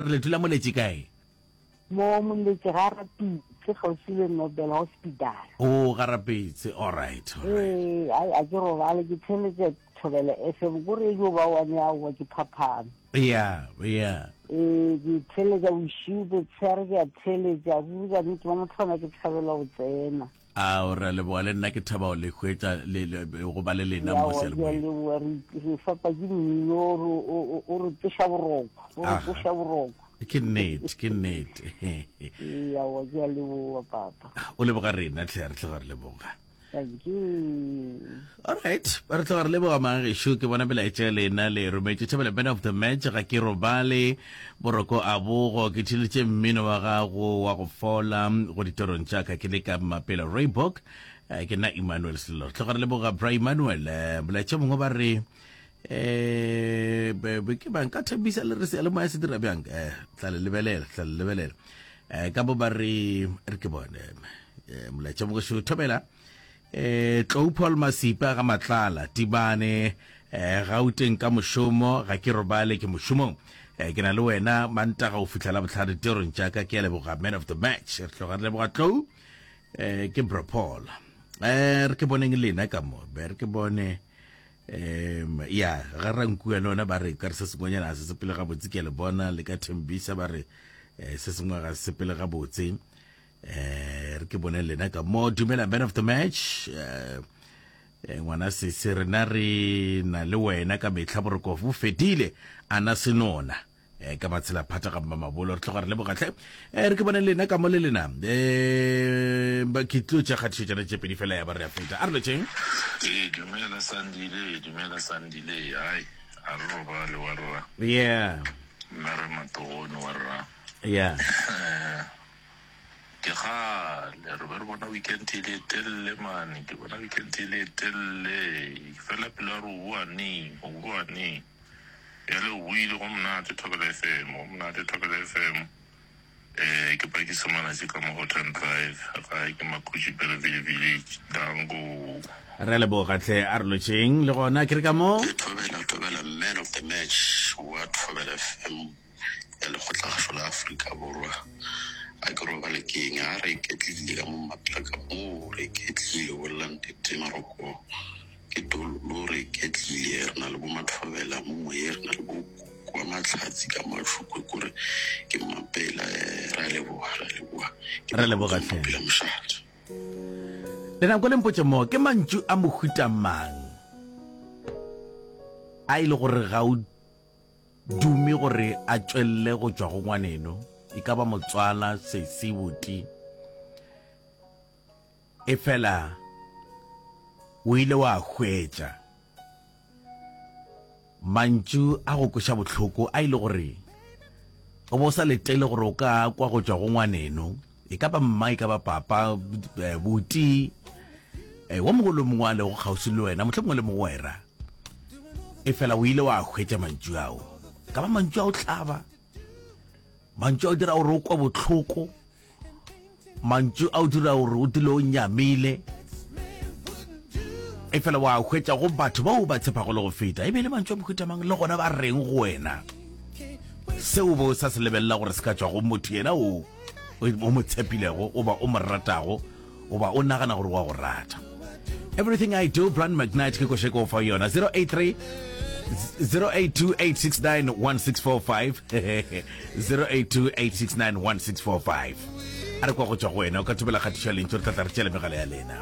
Re le dula Moletši kae? Mo Moletši ga Rapitse, kgauswi le Nobel Hospital. Oh, ga Rapitse, alright, alright. Ee, ai, a ke robale, ke theeletša Thobela FM, ko re yo ba one aowa ke phaphame. Yeah, yeah. Ee, ke theeletša bošego, botshehare ke a theeletša, ruri ka nnete mo motho ona ke thabela go tsena. Ao, re a leboga, le nna ke thaba go le hwetša le, le, go ba le lena mo Aowa, ke a seyalemoyeng. leboga, re, re fapa ke mmino, o re, o, o, o re tsoša boroko, o re Aga. tsoša boroko. Ke nnete, ke nnete. Ee, aowa, ke a leboga, papa. O leboga rena hle, re tloga re leboga. Thank you. Alright, re tloga re leboga magešo, ke bona melaetša ya lena le e rometše. Thobela man of the match, ga ke robale, boroko a bogo, ke theeleditše mmino wa gago wa go fola go ditorong tša ka ke le ka Mmapela Reebok. Eh, ke nna Emmanuel Sello. Re tloga re leboga Bra Emmanuel. Eh, molaetša mongwe ba re eh be be ke bang ka thembisa le re seyalemoya se dira bjang eh tla le lebelela tla le lebelela eh ka bo ba re re ke bone eh molaetša mongwe thobela eh Tlou Paul Masipa ga Matlala Tibane eh Gauteng ka mošomo ga ke robale ke mošomong eh ke na le wena Mantaga go fihla la bohlano ditirong tša ka ke a leboga man of the match re tloga re leboga Tlou eh ke bro Paul eh re ke boneng lena ka mo be re ke bone um ya ga rankua le ona ba re ka re se sengwenyana ga se sepele gabotse ke a le bona le ka thembisa ba re eh, se sengwe ga se sepele gabotse eh re ke bone lena ka mo dumela man of the match eh eh, ngwana sese rena re na le wena ka mehla boroko bo fedile ana senona eh, ka matshela phata ga mmamabolo re tloga re lebogatlhe eh, re ke bone lena ka mo le lena eh, ba ke tlo tša kgatišo tšana tše pedi fela ya ba re a feta a re lotšeng Ee, dumela Sandile, dumela Sandile. Ai, a re robale wa rra. yeah Nna re matogone wa rra. yeah Eh, Ke kgale re be re bona weekend e le e telele mane, ke bona weekend e le e telele. Fela pelo ya re o boa neng, o boa neng. Bjale o boile go monate Thobela FM, go monate Thobela FM. Eh, ke pakisa malatši ka mo Houghton Drive, gae ke Makhutši Belleville Village. Danko. Re a leboga hle, a re lotšheng le gona ke re ka mo. Ke Thobela Thobela man of the match wa Thobela FM ya Lekgotlakgašo la Afrika Borwa. A ke robale ke eng? A re iketlile ka mo Mapela ka mo re iketlile bolela nnete Maroko. Ke dololo re iketlile re na le bo Mathobela mo moyeng re na le bo Koko wa Mahlatsi ka Mashukwe kore ke Mmapela eh, re a leboga re a leboga ke Re leboga hle. Mmapela mošate. Le nako le mpotše mo ke mantšu a mohuta mang a e le gore ga o dume gore a tšwelele go tšwa go ngwaneno e ka ba motswala sesi buti Efela o ile wa hwetša mantšu a go kweša bohloko a ile gore o bo sa letele gore o ka kwa go tšwa go ngwaneno e ka ba mma e ka ba papa eh, buti eh, wo mongwe le mongwe a lego kgauswi le wena mohlomongwe le mogwera e fela o ile wa hwetša mantšu ao ka ba mantšu ao hlaba mantšu ao dira gore o kwa bohloko Mantšu a o dira gore o dule o nyamile, efela wa hwetša go batho bao ba tshepago le go feta. E be e le mantšu a mohuta mang, le gona ba reng go wena? Seo o be o sa se lebelela gore se ka tšwa go motho yena o o mo tshepilego goba o mo ratago goba o nagana gore wa go rata. Everything I Do, Brian McKnight ke koše ko fa yona 083 0828691645 0828691645 a re kwa go tšwa go wena o ka thobela kgatišo ya lentšu re tla tla re tšele megala ya lena.